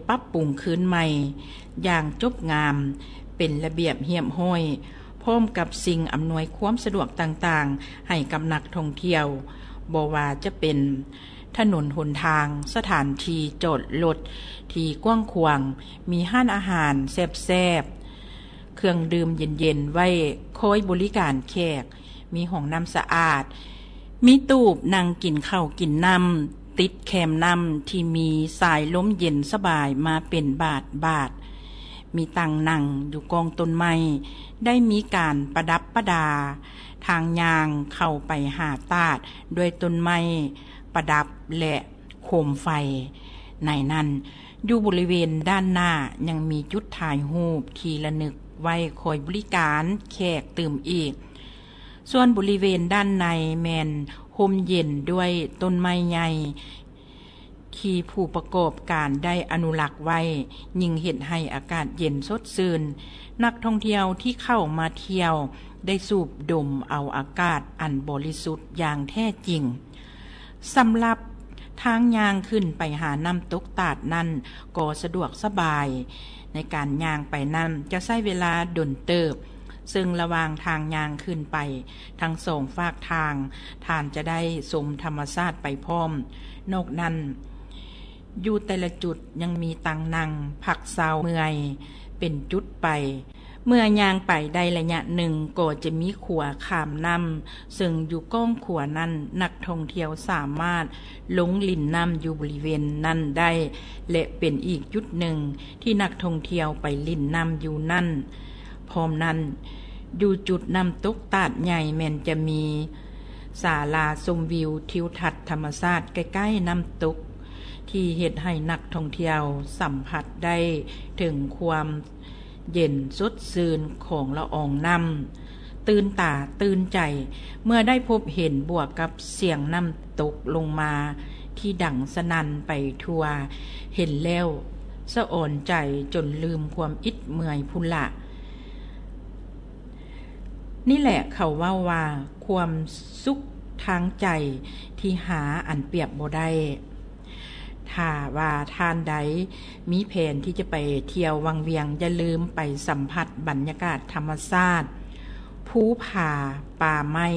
ປັບປຸງຄືນໃໝ່ຢ່າງຈົບງາມ ເປັນລະບຽບຮຽບຮ້ອຍ ພ້ອມກັບສິ່ງອຳນວຍຄວາມສະດວກຕ່າງໆ ໃຫ້ກັບນັກທ່ອງທ່ຽວ, ບໍ່ວ່າຈະເປັນຖະໜົນຫົນທາງ, ສະຖານທີ່ຈອດລົດທີ່ກວ້າງຂວາງ, ມີຮ້ານອາຫານແຊບໆ, ເຄື່ອງດື່ມເຢັນໆໄວ້ຄອຍບໍລິການແຂກ, ມີຫ້ອງນ້ຳສະອາດ, ມີຕູບນັ່ງກິນເຂົ້າກິນນ້ຳ ຕິດແຄມນ້ຳທີ່ມີສາຍລົມເຢັນສະບາຍມາເປັນບາດໆ, ມີຕັ່ງນັ່ງຢູ່ກ້ອງຕົ້ນໄມ້, ໄດ້ມີການປະດັບປະດາທາງຍ່າງເຂົ້າໄປຫາຕາດດ້ວຍຕົ້ນໄມ້ປະດັບ ແລະ ໂຄມໄຟ. ໃນນັ້ນ, ຢູ່ບໍລິເວນດ້ານໜ້າຍັງມີຈຸດຖ່າຍຮູບທີ່ລະນຶກໄວ້ຄອຍບໍລິການແຂກຕື່ມອີກ. ສ່ວນບໍລິເວນດ້ານໃນແມ່ນຮົ່ມເຢັນດ້ວຍຕົ້ນໄມ້ໃຫຍ່ ທີ່ຜູ້ປະກອບການໄດ້ອະນຸລັກໄວ້, ຍິ່ງເຮັດໃຫ້ອາກາດເຢັນສົດຊື່ນ. ນັກທ່ອງທ່ຽວທີ່ເຂົ້າມາທ່ຽວໄດ້ສູບດົມເອົາອາກາດອັນບໍລິສຸດຢ່າງແທ້ຈິງ. ສຳລັບທາງຍ່າງຂຶ້ນໄປຫານ້ຳຕົກຕາດນັ້ນກໍສະດວກສະບາຍ. ໃນການຍ່າງໄປນັ້ນຈະໃຊ້ເວລາດົນເຕີບ, ເຊິ່ງລະຫວ່າງທາງຍ່າງຂຶ້ນໄປທັງສອງຟາກທາງ, ທ່ານຈະໄດ້ຊົມທຳມະຊາດໄປພ້ອມ. ນອກນັ້ນ, ຢູ່ແຕ່ລະຈຸດຍັງມີຕັ່ງນັ່ງພັກເຊົາເມື່ອຍເປັນຈຸດໄປ. ເມື່ອຍ່າງໄປໄດ້ໄລຍະໜຶ່ງກໍຈະມີຂົວຂ້າມນ້ຳ, ເຊິ່ງຢູ່ກ້ອງຂົວນັ້ນນັກທ່ອງທ່ຽວສາມາດລົງຫຼິ້ນນ້ຳຢູ່ບໍລິເວນນັ້ນໄດ້ ແລະ ເປັນອີກຈຸດໜຶ່ງທີ່ນັກທ່ອງທ່ຽວໄປຫຼິ້ນນ້ຳຢູ່ນັ້ນ. ພ້ອມນັ້ນ, ຢູ່ຈຸດນ້ຳຕົກຕາດໃຫຍ່ແມ່ນຈະມີສາລາຊົມວິວທິວທັດທຳມະຊາດໃກ້ໆນ້ຳຕົກ ທີ່ເຮັດໃຫ້ນັກທ່ອງທ່ຽວສຳຜັດໄດ້ເຖິງຄວາມ ເຢັນສົດຊື່ນຂອງລະອອງນ້ຳ, ຕື່ນຕາຕື່ນໃຈເມື່ອໄດ້ພົບເຫັນ ບວກກັບສຽງນ້ຳຕົກລົງມາທີ່ດັງສະໜັ່ນໄປທົ່ວ, ເຫັນແລ້ວສະອອນໃຈຈົນລືມຄວາມອິດເມື່ອຍພຸ້ນລະ. ນີ້ແຫຼະເຂົາເວົ້າວ່າ ຄວາມສຸກທາງໃຈທີ່ຫາອັນປຽບບໍ່ໄດ້. ຖ້າວ່າທ່ານໃດມີແຜນທີ່ຈະໄປທ່ຽວວັງວຽງ, ຢ່າລືມໄປສຳຜັດບັນຍາກາດທຳມະຊາດ, ພູຜາ, ປ່າໄມ້,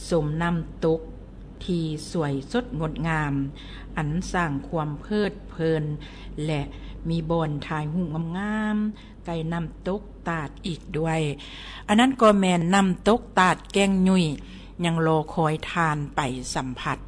ຊົມນ້ຳຕົກທີ່ສວຍສົດງົດງາມ, ອັນສ້າງຄວາມເພີດເພີນ ແລະ ມີບ່ອນຖ່າຍຮູບງາມໆ ໃກ້ນ້ຳຕົກຕາດອີກດ້ວຍ. ອັນນັ້ນກໍແມ່ນນ້ຳຕົກຕາດແກ້ງຫຍຸ້ຍ ຍັງລໍຄອຍທ່ານໄປສຳຜັດ.